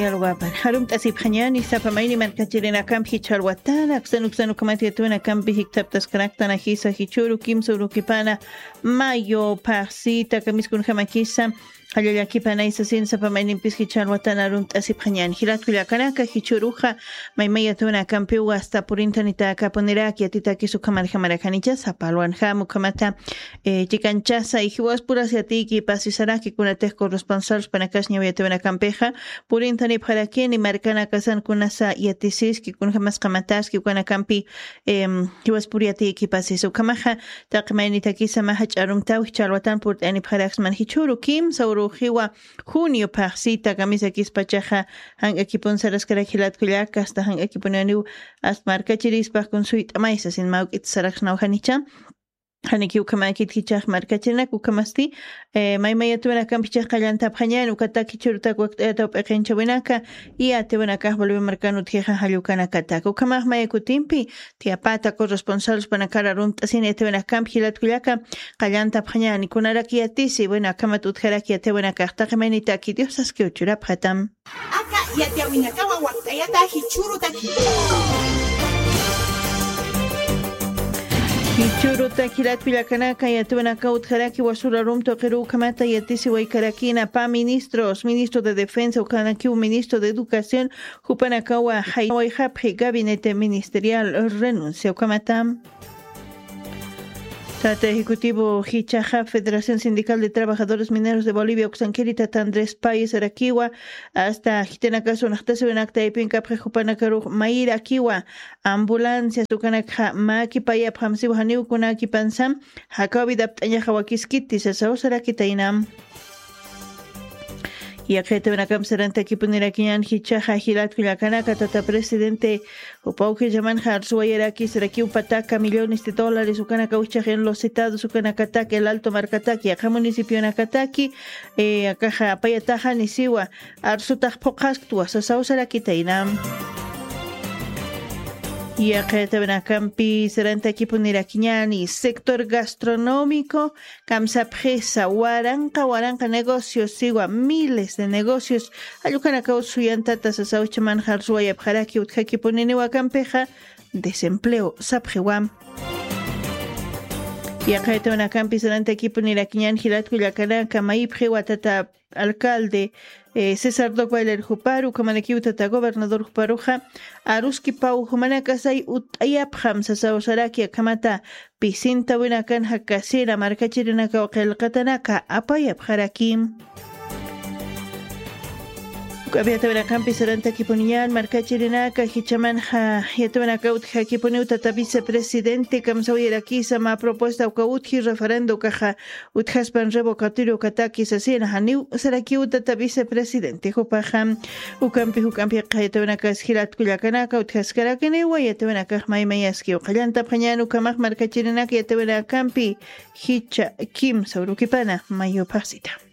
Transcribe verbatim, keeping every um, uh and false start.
Yalwapan. Jarumt'asipxañani sapa mayni markachirinakampi jichha alwatana, aksan uksan ukhamat yatawinakampi jikthaptaskaraktan ajisa jichhuru kimsa urukipana mayo phaxsita kamiskunjamakisa. Jallallakipana isasin sapa maynimpis jichha alwatana jarumt'asipxañani. Jilatku llakanaka jichhuruxa maymay yatawinakampiwa asta purintanitaka punirak yatitakis ukhamarjamarakanicha sapa alwanjam ukhamata eh, chikanchasa y jiwaspurasi atiyki pasisaraki kunatix corresponsal spanakasñaw yatawinakampixa purintanipxarakini markanakasan kunasa yatisiski kunjamas qamataski ukanakampi em, jiwaspuri atiyki pasis ukhamaxa taqi maynitakisa maja ch'arumtaw jichha alwatan purt'anipxaraksman jichhuru kimsa uruxiwa junio phaxsita kamisakispachaxa jank'akipun saraskarak jilatkullaka asta jank'akipuniwaniw asta markachirispax kun suyt'amaysa sin mawk'it saraksnawjanicha. Janiki ukhamakit jichhax markachirinak ukhamasti eh, maymay yatawinakampi jichhax qallantapxañani ukataki jichhurutak wakt'ayataw p'iqinchawinaka y yatawinakax bolivia markan utjixa jallukanakataka ukhamax maya kutimpi tiyapata corresponsal spanakar jarumt'asini yatawinakampi jilatkullaka qallantapxañani kunarak yatisi bueno akhamat utjarak yatawinakax taqi maynitaki diosaskiw churapxatam. Aka yatiyawinakawa wakt'ayata jichhurutaki. Jichhurutaki jilatku llakanaka yatiyawinakaw utjaraki wasura rumtu qiru ukhamata yatisiwaykarakina pä ministros ministro de defensa ukhanakiw ministro de educación jupanakawa jaywayxapxi gabinete ministerial renuncia ukhamata. Tata ejecutivo jichaxa federación sindical de trabajadores mineros de bolivia uksankiri tata andrés payes arakiwa asta jitinakas unaxtasiwinakta aypinkapxi jupanakarux mayirakiwa ambulancias ukanakxa mäkipayapxam siwa janiw kunakipansam jakaw vidapt'añaxa wakiskiti sasaw sarakitaynam. Yaqitawinakampi sarantakipunirakiñan jichhaxa jilatku llakanaka tata presidente jupaw jillamanxa arsuwayaraki sarakiw pataka millones de dólares ukanakaw jichhax en los citados ukanakatak el alto markatak yaqha municipionakataki eh, akaxa apayataxani siwa arsutax phuqhasktwa sasaw sarakitaynam. Yaqitawinakampi sarantakipunirakiñani sector gastronómico kamsapxisa waranqa waranqa negocios siwa miles de negocios jallukhanakaw suyantata sasaw jichhamanxa arsuwayapxaraki utjakipuniniwa kampixa desempleo sapxiwam. Yaqitawinakampi sarantakipunirakiñan jilatku llakanaka mayipxiwa tata alcalde eh, césar doc bailer juparu ukhamanakiw tata gobernador juparuxa aruskipaw jumanakasay ut'ayapxam sasaw saraki akhamata pisintawinakan jakasira markachirinakaw qillqatanaka apayapxaraki. Uk'api yatawinakampi sarantakipuniñan markachirinaka jichhamanxa yatawinaka utjakipuniw tata vicepresidente kamsawirakisa mä propuesta uka utji referendo ukaxa utjaspan revocatorio ukataki sasina janiw sarakiw tata vicepresidente jupaxa ukampi juk'ampi qhayatawinakas jilatku llakanaka utjaskarakiniwa yatawinakax maymayaskiw qallantapxañan ukhamax markachirinaka yatawinakampi jichha kimsa urukipana mayo phaxsita.